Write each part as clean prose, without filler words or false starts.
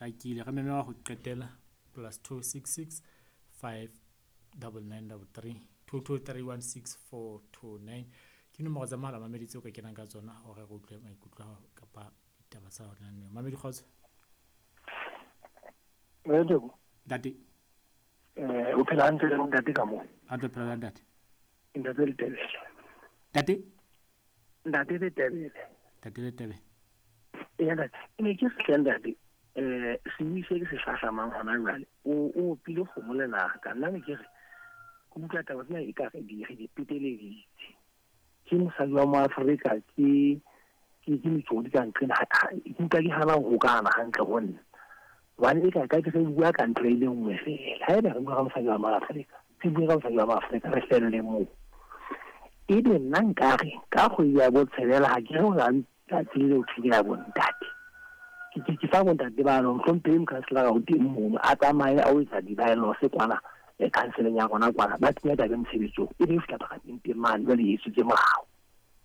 Hlakile. Re meme wa ho qetela +266 5 99 33 22 31 64 29 ke nomoro tsa mohala mamedi tseo ka kenang ka tsona hore re utlwe maikutlo a hao kapa ditaba tsa hona neo. Mamedi, kgotso. Ntate. O phela hantle le ntate ka moo? Hantle, phela jwang, ntate? Ntate Letebele. Ntate? Ntate Letebele. Ntate Letebele. Ee, ntate. Ke ne ke re hle ntate, sebui se ke se hlahlamang hona jwale, o opile kgomo lenaka. Nna ne ke re, ke utlwa taba tsena e ka re di re di peteleditse. Ke mosadi wa Moafrika, ke metsodi ka nqena, ke utlwa ke hana ho hokahana hantle ho nna. Hobane e ka ka ke re bua ka ntho e le nngwe feela. Haeba re bua ka mosadi wa Moafrika, re bue ka mosadi wa Moafrika, re felle moo. Ebe nna nkare ka kgwedi ya botshelela ha ke re ho na le tsatsi le leo thweng ke la bontate. Ke fa bontate ba no hlomphehi mokhanselara o teng mono a tsamaye a o etsa di-bylaws kwana kanseleng ya rona kwana, ba kenya taba e mosebetsong, e be e fihla paramenteng mane jwale e etswetse molao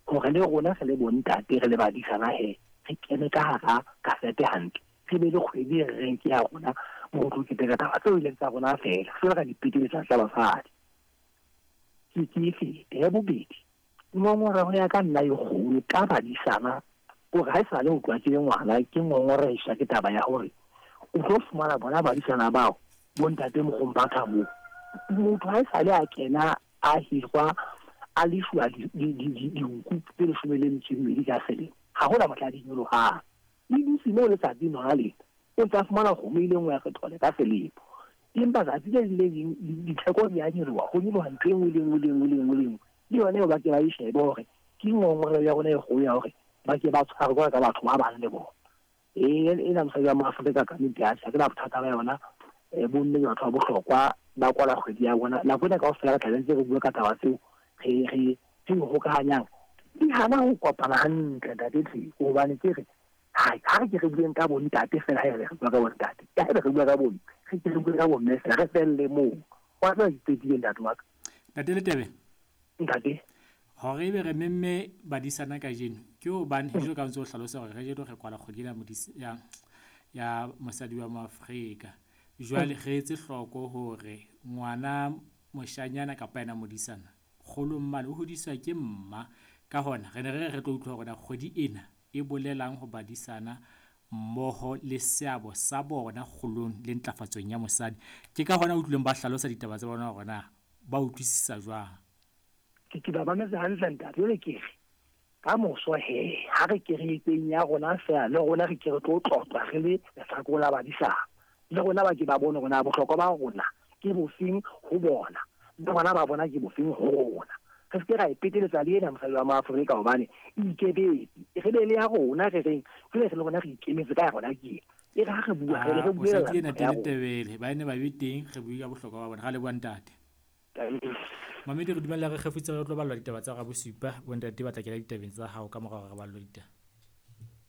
hore le rona re le bontate re le badisana he re kene ka hara kasete hantle, re be le kgwedi e re reng ke ya rona mo re tlo keteka taba tseo e leng tsa rona feela, se ra di peteletsa tsa basadi. Ke e fete. Ya bobedi, ngongoreho ya ka nna e kgolo ka badisana hore ha e sale ho tloha ke le ngwana ke ngongorehiswa ke taba ya hore o tlo fumana bona badisana bao bontate Mokgompatha moo motho ha e sale a kena a hirwa a lefuwa dinku tse 12 ka selemo, ha hona mohla di nyolohang, le dutse moo letsatsi nona lena o ntse a fumana kgomo e le nngwe ya sethole ka selemo, empa tsatsi le leng le leng ditheko di a nyoloha, ho nyoloha ntho e nngwe le nngwe le nngwe le nngwe le nngwe. Le yona eo ba ke ba e shebe hore ke ngongoreho ya rona e kgolo ya hore ba ke ba tshwarwe jwalo ka batho ba bang le bona. Ee, ena mosadi wa Moafrika ka nnete atjhe, ha ke na bothata ba yona. Bomme ke batho ba bohlokwa, ba kwala kgwedi ya bona. Nako ena kaofela re tlabe ntse re bua ka taba tseo re re hokahanyang. Di hana ho kopana hantle ntate Tseko, hobane ke re hai, ha re ke re bueng ka bontate fela, ha re bua ka bontate, ha re bua ka bomme, re ke re bue ka bomme fela, re felle moo. Wa tseba ke qetile ntate wa ka. Ntate Letebe. Ntate. Hore ebe re memme badisana kajeno ke hobane jwalo ka ntse o hlalosa hore kajeno re kwala kgwedi ena ya mosadi wa Moafrika. Jwale re etse hloko hore ngwana moshanyana kapa yena modisana kgolong mane o hodiswa ke mma. Ka hona re ne re re tlo utlwa hore na kgwedi ena e bolelang ho badisana mmoho le seabo sa bona kgolong le ntlafatsong ya mosadi. Ke ka hona utlwileng ba hlalosa ditaba tsa bona hore na ba utlwisisa jwang. Ke ba mametse hantle ntate. Jwale ke re ka moso he ha re ke re etseng ya rona feela, le rona re ke re tlo tlotlwa re le lehlakore la badisana, le rona ba ke ba bone hore na bohlokwa ba rona ke bofeng ho bona, le rona ba bona ke bofeng ho rona. Re se ke ra e peteletsa le ena mosadi wa Moafrika hobane e ikebetse, re be le ya rona re reng jwale re le rona re ikemetse ka ya rona ke ena. E re ha re bua, re re buela Mosadi ena ya rona. Tebele ba ne ba be teng, re bue ka bohlokwa ba bona. Ra leboha ntate. Mamedi, re dumella re kgefutse re tlo ballwa ditaba tsa hora bosupa. Bontate ba tla kena ditabeng tsa hao ka mora hore re ballwe ditaba.